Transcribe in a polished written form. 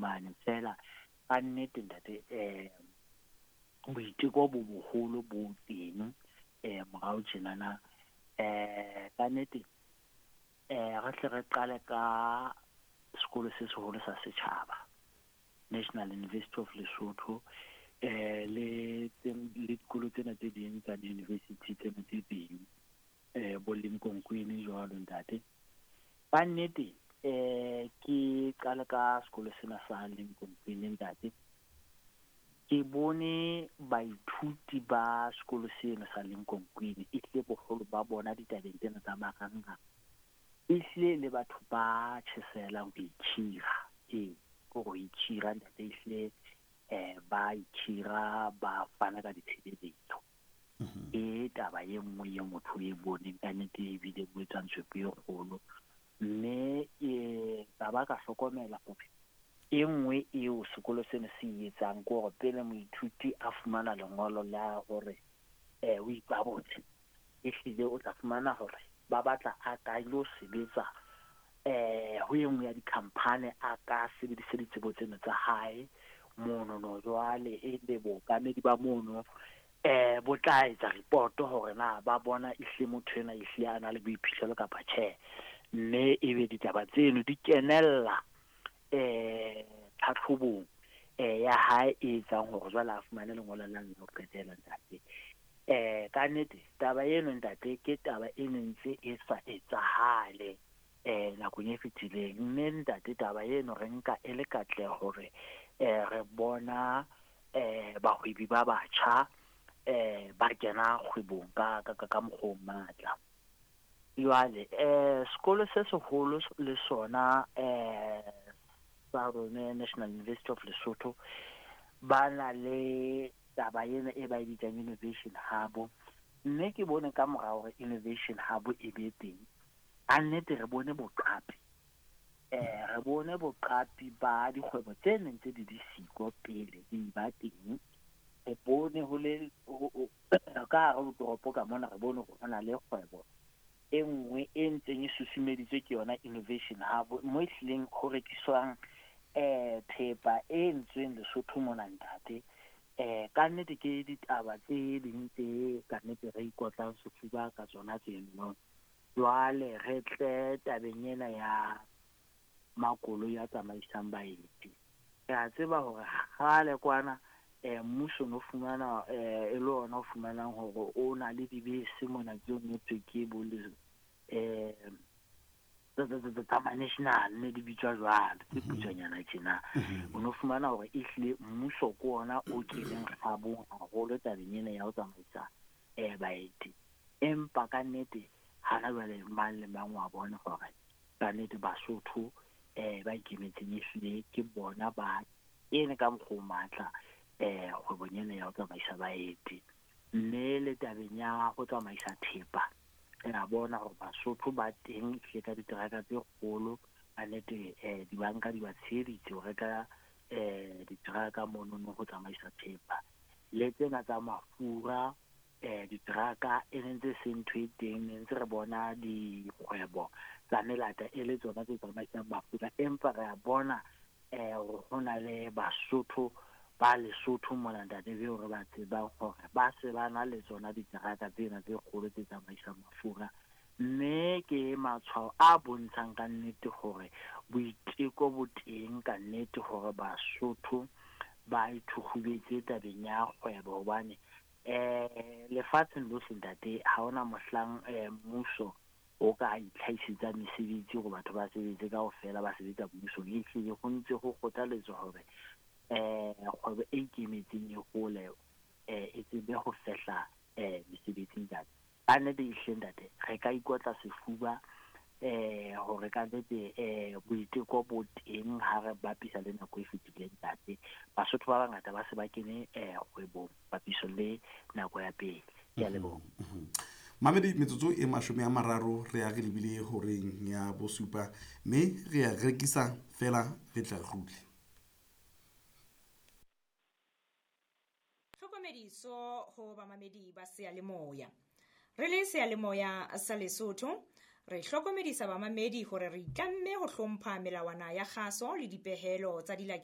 fumane. Feela ka nnete ntate, boiteko bo boholo bo teng morao tjenana. Ka nnete re hle re qale ka sekolo se seholo sa setjhaba, National University of Lesotho, le dikolo tsena tse ding tsa di-university tsena tse teng, bo Limkokwing jwalo ntate. Ka nnete ke qale ka sekolo sena sa Limkokwing ntate. Ke bone baithuti ba sekolo sena sa Limkokwing ehlile boholo ba bona ditabeng tsena tsa marangrang, ehlile le batho ba tjhesehelang ho ikhira. Ee, ke hore ho ikhira ntate, ehlile ba ikhira, ba fana ka ditshebeletso. Ke taba e nngwe e motho e boneng ka nnete, ebile o etsang tswepo e kgolo. Mme ka ba ka hlokomela hore e nngwe eo sekolo sena se e etsang ke hore pele moithuti a fumana lengolo la hore o ipabotse, ehlile o tla fumana hore ba batla a ka ilo sebetsa ho e nngwe ya di-company, a ka sebedise ditsebo tseno tsa hae mono no. Jwale e be bookamedi ba mono bo tla etsa report hore na ba bona ehlile motho ena ehlile a na le boiphihlelo kapa tjhe. Mme ebe ditaba tseno di kenella tlhatlhobong ya hae e etsang hore jwale a fumane lengolo la ho qetela ntate. Ka nnete taba eno ntate ke taba e ne ntse e sa etsahale nakong e fetileng. Mme ntate taba eno re nka e le katleho hore re bona bahwebi ba batjha ba kena kgwebong ka mokgwa o matla. Jwale sekolo se seholo le sona sa rona National University of Lesotho ba na le taba ena e ba e bitsang Innovation Hub. Mme ke bone ka mora hore Innovation Hub e be teng, ka nnete re bone boqapi. Re bone boqapi ba dikgwebo tse neng tse di di siko pele di ba teng. Re bone ho le ka hare ho toropo ka mona, re bone hore ho na le kgwebo e nngwe e ntseng e susumeditswe ke yona Innovation Hub, mo e hlileng ho rekiswang thepa e entsweng Lesotho mona ntate. Ka nnete ke ditaba tse ding tse ka nnete re ikotlang sefuba ka tsona tseno. Jwale re tle tabeng ena ya makoloi a tsamaisang baeti. Re a tseba hore kgale kwana mmuso no fumana e le ona o fumanang hore o na le dibese mona tseo ngotswe ke bo le tsa ma-national ne di bitswa jwalo, tse putswanyana tjena. O no fumana hore ehlile mmuso ke ona o keneng kgabong haholo tabeng ena ya ho tsamaisa baeti. Empa ka nnete hana jwale mang le mang wa bona hore ka nnete Basotho ba ikemetseng ehlile ke bona ba ene ka mokgwa o matla kgwebong ena ya ho tsamaisa baeti. Mme le tabeng ya ho tsamaisa thepa, re a bona hore Basotho ba teng ehlile ka diteraka tse kgolo. Ka nnete dibanka di ba tsheheditse ho reka diteraka monono ho tsamaisa thepa. Le tsena tsa mafura, diteraka e ne ntse se ntho e teng, ne ntse re bona dikgwebo tsa melata e le tsona tse tsamaisang mafura. Empa re a bona hore ho na le Basotho ba Lesotho mona ntate beo re ba tsebang hore ba se ba na le tsona diteraka tsena tse kgolo tse tsamaisang mafura. Mme ke matshwao a bontshang ka nnete hore boiteko bo teng ka nnete hore Basotho ba ithukhubetse tabeng ya kgwebo. Hobane lefatsheng lohle ntate ha hona mohlang mmuso o ka itlhahisetsa mesebetsi hore batho ba sebetse kaofela ba sebetsa mmusong. Ehlile ho ntse ho kgothaletswa hore kgwebo e ikemetseng e hole, e tsebe ho fehla mesebetsi ntate. Ka nnete ehlile ntate re ka ikotla sefuba hore ka nnete boiteko bo teng ha re bapisa le nako e fetileng ntate. Basotho ba bangata ba se ba kene kgwebong papiso le nako ya pele. Ke a leboha. Mamedi, metsotso e 30 re ya re lebile horeng ya bosupa, mme re ya rekisa fela re tla kgutle. Tlhokomediso ho bamamedi ba seyalemoya. Re le seyalemoya sa Lesotho, re hlokomedisa bamamedi hore re itlamme ho hlompha melawana ya kgaso le dipehelo tsa dilake